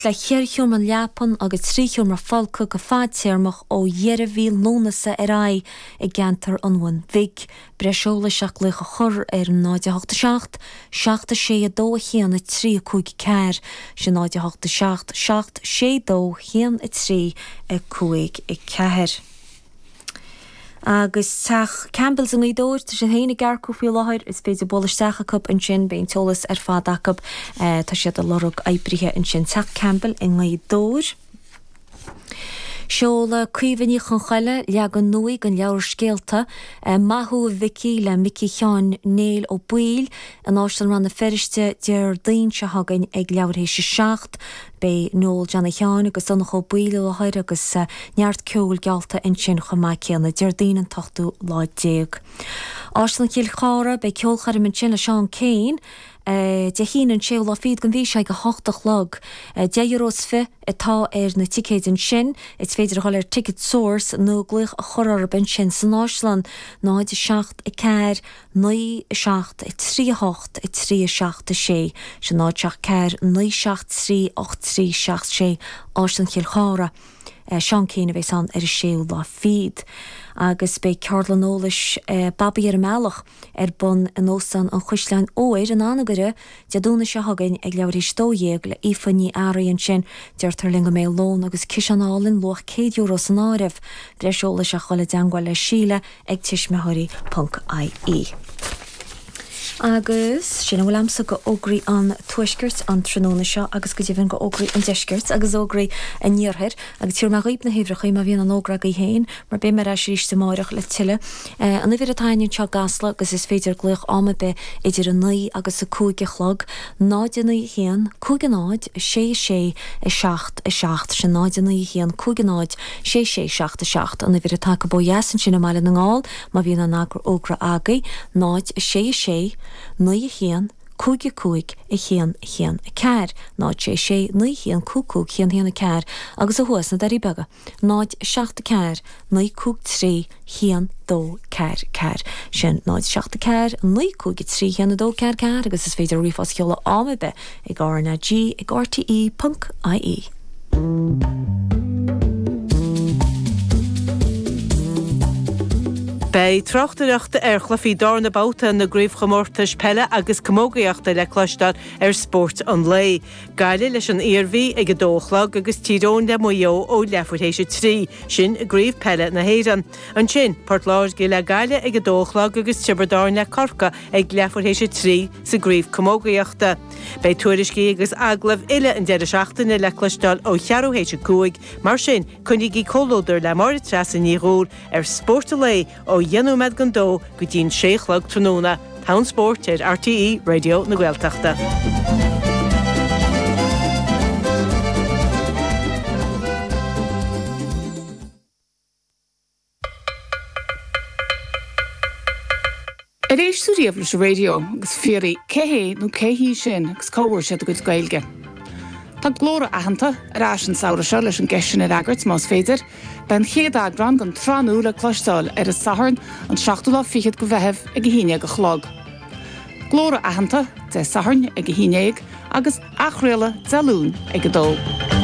Le cheithre sheomra leapan agus 3 sheomra folctha go fadtéarmach ó dheireadh mhí Lúnasa ar aghaidh i gceantar an Bhun Bhig. Breis eolais ach glaoch a chur ar 0 8 7 7 6 2 1 3 5 4, sin 0 8 7 7 6 2 1 3 5 4. Agus teach Campbell's i nGaoth Dobhair, tá siad féin ag earcú faoi láthair, is féidir bualadh isteach acu ansin, beidh an t-eolas ar fad acu, tá siad ag lorg oibrithe ansin. Teach Campbell i nGaoth Dobhair. Seoladh Caoimhe Ní Chonchoille leagan nua den leabhar scéalta Maith Thú a Mhicí le Micí Sheáin Néill Ó Baoill in Áislann Rann na Feirste Déardaoin seo chugainn ag leathuair théis a 7. Beidh Noel Johnny Sheáin agus Donncha Ó Baoill i láthair agus neart ceoil geallta ansin chomh maith céanna, Déardaoin an t-ochtú lá déag. Áislann Chill Chartha, beidh ceolchoirm ansin le Seán Keane, Dé hAoine an séú lá fichead den mhí seo ag a hocht a chlog. Deich euro is fiche atá ar na ticéid ansin. Is féidir a dhul ar Ticketsource nó glaoch a chur orthu ansin san Áislann, 0 7 4 9 7 3 8 3 7 6 Sin 0 7 4 9 7 3 8 3 7 6 Áislann Chill Chartha. Seán Kyne a bheas ann ar an séú lá fichead. Agus beidh ceardlann eolais Babaí ar an mBealach ar bun in Óstán an Chaisleáin Óir in Anagaire Dé Domhnaigh seo chugainn ag leathuair théis 12 le Aoife Ní Fhearraigh ansin. Deirtear linn go mbeidh lón agus ciseán álainn luach €100 san áireamh. Breis eolais ach dhul i dteangmháil le Síle ag tuismitheoirí ponc ie. Agus sin a bhfuil a'msa go fhógraí an Tuaiscirt an tráthnóna seo agus go deimhin go fhógraí an Deiscirt agus fhógraí an Iarthair agus tabharfaidh mé dhaoib na huimhreachaí má bhíonn aon fhógra agaibh féin mar beidh mé ar ais arís amáireach le tuilleadh. An uimhir atá againn anseo i gCasla agus is féidir glaoch am ar bith idir 9 agus 5 a chlog, 0 9 1 5 0 6 6 7 7, sin 0 9 1 5 0 6 6 7 7 an uimhir atá acu ó dheas ansin i mBaile na nGall má bhíonn aon fhógra agaibh, 0 6 6 9 1 5 5 1 1 4, 0 6 6 9 1 5 5 1 1 4 agus ó thuaidh sna Doirí Beaga, 0 7 4 9 5 3 1 2 4 4. Sin 0 7 4 9 5 3 1 2 4 4 agus is féidir ríomhphost a sheoladh am ar bith ag RnaG ag rte.ie. Beidh tráchtaireacht ar chluichí darna babhta na gcraobhchomórtais peile agus camógaíochta le cloisteáil ar Spórt an Lae. Gaillimh leis an Iarmhí ag a dó a chlog agus Tír Eoghain le Maigh Eo ó leathuair théis a 3, sin i gCraobh Peile na hÉireann. Ansin, Port Láirge le Gaillimh ag a dó a chlog agus Tiobraid Árann le Corcaigh ag leathuair théis a 3 sa gCraobh Camógaíochta. Beidh tuairiscí agus agallaimh uile an deireadh seachtaine le cloisteáil ó cheathrú théis a 5, mar sin coinnígí comhluadar le Máire Treasa Ní Dhubhghaill ar Spórt an Lae ó dheich nóiméad don dó go dtí'n sé a chlog tráthnóna. Togha an Spóirt ar RTÉ Raidió na Gaeltachta. Ar éist tú riamh leis an raidió agus fiafraí cé hé nó cé hí sin agus cá bhfuair siad a gcuid Gaeilge? Tá Glór Aitheanta ar ais an samhradh seo leis an gceist sin a fhreagairt, más féidir. Beidh an chéad eagrán den tsraith nua le cloisteáil ar an Satharn, an seachtú lá fichead de Mheitheamh ag a haon dhéag a chlog. Glór Aitheanta, Dé Sathairn ag a haon dhéag agus athchraoladh Dé Luain ag a dó.